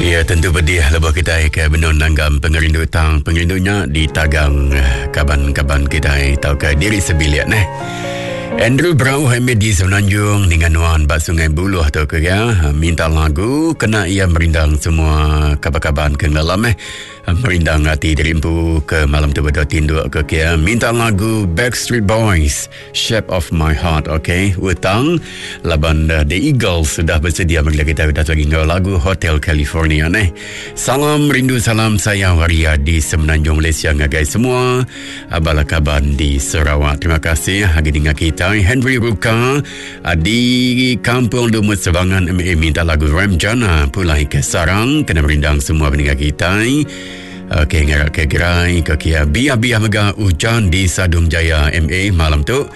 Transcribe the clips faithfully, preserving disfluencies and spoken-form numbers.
Ya, tentu pedih lebuh kita ke benun nanggam pengerindu tang pengerindunya ditagang kaban-kaban kita tau ke diri sebilik neh. Andrew Brau Hamid di Semenanjung dengan nuan bak Sungai Buluh tu ke ya minta lagu kena ia merindang semua kaban-kaban ke dalam eh merindang hati diri empu ke malam tu betul tinduk ke kia minta lagu Backstreet Boys Shape of My Heart. Okey, utang laban uh, The Eagles sudah bersedia bagi kita sudah lagi ngau lagu Hotel California neh. Salam rindu, salam sayang waria di Semenanjung Malaysia ngagai semua bala kaban di Sarawak. Terima kasih lagi dengar kita Henry Ruka di Kampung Lumut Sebangan M A minta lagu Ramjana Pulai ke Sarang kena merindang semua pendengar kita. Okey, ngarap ke gerai ke kia biah-biah mega hujan di Sadung Jaya M A malam tu.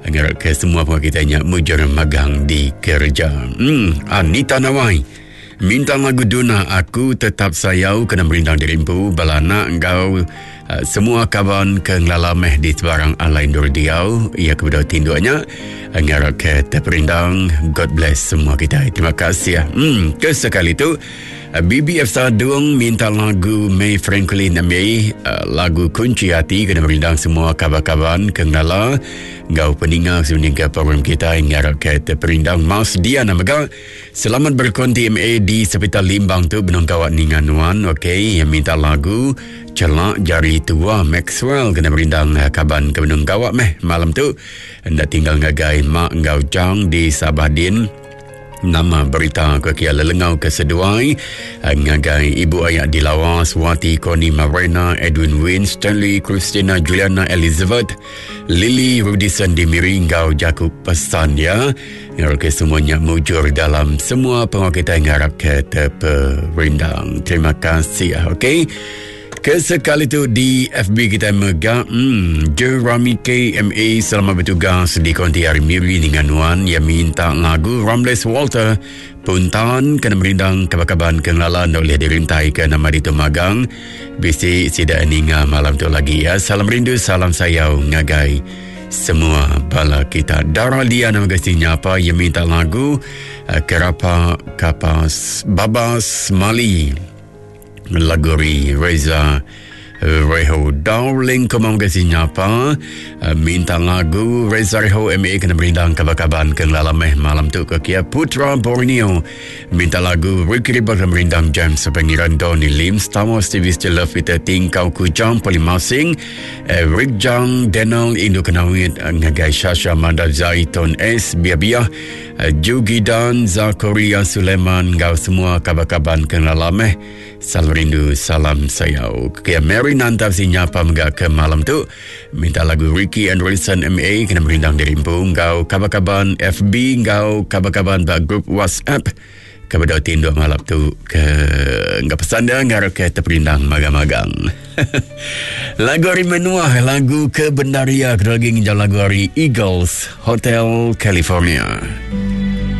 Ngarap ke semua pendengar kita nya mujur magang di kerja. Hmm, Anita Nawai minta lagu Duna Aku Tetap Sayau kena merindang diri empu bala anak engkau uh, semua kawan ke ngelalameh di sebarang alai ndur diau ia kepada tinduknya ngarap ke terperindang. God bless semua kita. Terima kasih. Hmm, kesekali tu B B F Sadung minta lagu May Franklin May uh, lagu Kunci Hati kena merindang semua kawan-kawan ke ngala ngau peninga sebenarnya program kita ngarap ke terperindang. Mas Diana mega selamat berkonti M A di Sepital Limbang tu benung kawat ningan nuan. Okey, yang minta lagu Celak Jari Tua Maxwell kena merindang kaban ke benung kawat meh malam tu. Ndak tinggal ngagai mak ngau jang di Sabah Din. Nama berita ke kia lelengau ke seduai ngagai ibu ayah di Lawas Wati Koni Marina Edwin Win Stanley Christina Juliana Elizabeth Lily Rudison di Miri ngau Jakub pesan ya. Ngarap ke semuanya mujur dalam semua pengawal kita ngarap ke terperindang. Terima kasih. Okey. Kesekali tu di F B kita mega hmm, Jeremy K M A selamat bertugas di Konti Hari Miri dengan Nuan yang minta lagu Ramles Walter Puntan kena merindang kaban-kaban kengenalan oleh dirintai ke nama di Magang bisi sida ninga malam tu lagi ya. Salam rindu, salam sayau ngagai semua bala kita. Dara Lia nama gesinya apa yang minta lagu Kerapa Kapas Babas Mali Laguri Reza Reho Darling kemau gesinya apa minta lagu Reza Reho M A kena merindang kaban-kaban ke ngelameh malam tu ke kia Putra Borneo minta lagu Ricky Riba kena merindang James Pengiran Donny Lim Star Wars T V Still Love Peter Tingkau Kujang Polimasing Rick Jang Daniel Indo Kenawit ngagai Shasha Manda Zaiton S Bia-Bia Jugidan Zakaria Suleiman ngau semua kaban-kaban ke ngelameh. Salam rindu, salam sayau. Kia Mary Nantap si nyapa mega ke malam tu minta lagu Ricky and Wilson M A kena merindang diri empu ngau kaban-kaban F B ngau kaban-kaban ba grup WhatsApp kepada tinduk malam tu ke ngau pesan dia ngarap ke terperindang magang-magang. Lagu hari menuah, lagu kebenaria kena lagi nginjau lagu hari Eagles Hotel California.